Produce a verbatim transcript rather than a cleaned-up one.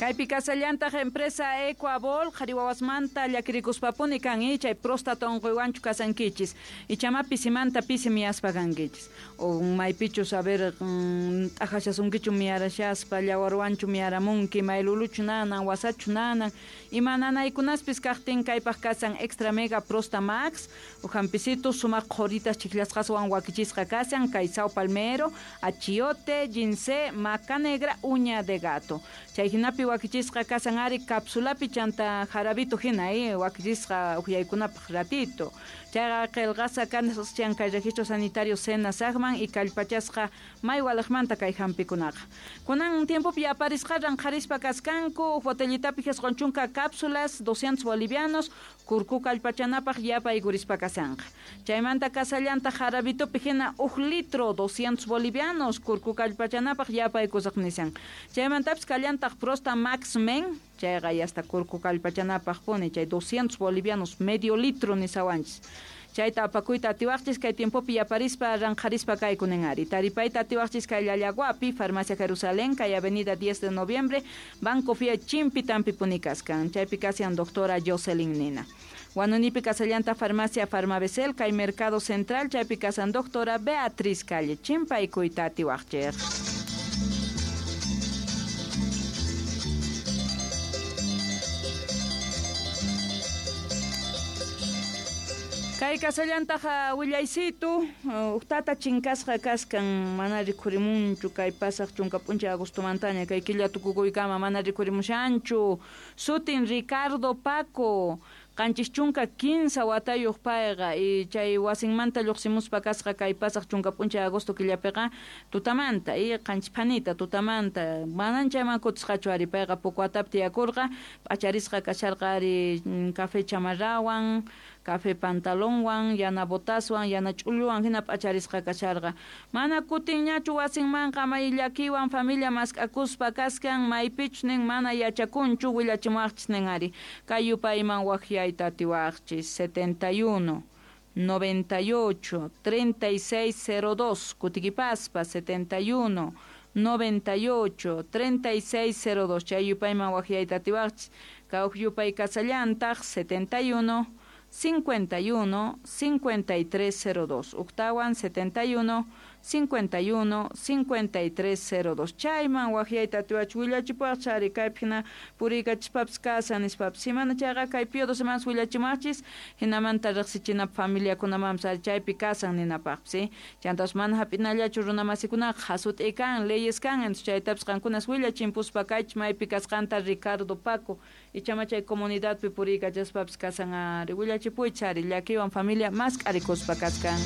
Kaypi kasallantaq empresa Ecuabol qhari wawasmanta llakirikuspapuni kan chay próstata unquywanchu kasankichis ichama pisimanta pisi miyaspa kankichis o maypichus a ver t'ajashasunkichu miyarashaspa llawarwanchu miyaramunki mayluluchu nanan wasachu nanan ima nanaykunaspis kaqtin kaypaq kasan Extra Mega Prosta Max ujampisitu sumaq qhoritas chiklasqaswan wakichisqa kasan kay sao palmero, achiote, ginseng, maca negra, uña de gato. Chay hinapi wakichisqa kasan ari capsulapi chanta jarabito hina eh wakichisqa uhyaykunapaq ratito. Chayqa qillqasqa kasan kay registro sanitario SENASAGman y kallpachasqa may walaqmanta kay hampikunaqa. Kunan tiempopi yaparisqa ranqharispa kaskanku botellitapi jisqun chunka cápsulas doscientos bolivianos kurku kallpachanapaq yapaykurispa kasanqa. Chaymanta kasallanta jarabitopi hina uj litro doscientos bolivianos kurku kallpachanapaq yapaykusaq nisan. Chaymantapis kallantaq Prosta Max Men chayqa hasta kurku kallpachanapaq puni chay doscientos bolivianos medio litro nisawanchis. Chayta apakuyta atiwaqchis kay tiempopi yaparispa ranqharispa kaykunin ari. Taripayta atiwaqchis kay Llallaguapi, Farmacia Jerusalén, kay Avenida diez de Noviembre, Banco Fia Chimpi tampi puni kaskan. Chaypi kasian doctora Jocelyn Nina. Guanunipi kasallanta Farmacia Farmabesel, kay Mercado Central, chaypi kasan doctora Beatriz Calle. Chimpaykuyta atiwaqchis. Kay kasallantaqa willaysitu uqtata chinkasqa kaskan mana rikhurimunchu kay pasaq chunka p'unchay agostomantaña kay killa tukukuykama mana rikhurimushanchu sutin Ricardo Paco qanchis chunka kinsa watayuq payqa y chay wasinmanta lluqsimuspa kasqa kay pasaq chunka p'unchay agosto killapiqa tutamanta y qanchis phanita tutamanta manan chayman kutisqachu ari payqa Pucuatapi tiyakurqa p'acharisqa kasharqa ari café chamarrawan café pantalonwan yana botaswan yana ch'ulluwan hina p'acharisqa kasharqa mana kutinñachu wasinmanqa may llakiwan familia mask'akuspa kaskan maypichus nin mana yachakunchu willachimuwaqchis nin ari kay yupayman waqyayta atiwaqchis setenta y uno, noventa y ocho, treinta y seis cero dos kutikipaspa setenta y uno, noventa y ocho, treinta y seis cero dos chay yupayman waqyayta atiwaqchis kawq yupay kasallantaq setenta y uno, cincuenta y uno, cincuenta y tres cero dos Octawan setenta y uno, cincuenta y uno, cincuenta y tres cero dos Chayman waqyayta atiwach willachipuwaq ari kaypi hina puriykachispapis kasan nispapis simana chayqa kay pio dos semanas willachimaqchis hinamanta riqsichinapaq familiakunamanpis ari chaypi kasan ninapaqpis chantapas mana hap'inallachu runamasikunaqa hasut'i kan leyes kan entonces chaytapis qankunas willachimpuspa kaychis maypi kasqanta Ricardo Paco ichama chay comunidadpi puriykachaspapis kasan ari willachipuychis ari llakiwan familia mask'arikuspa kaskan.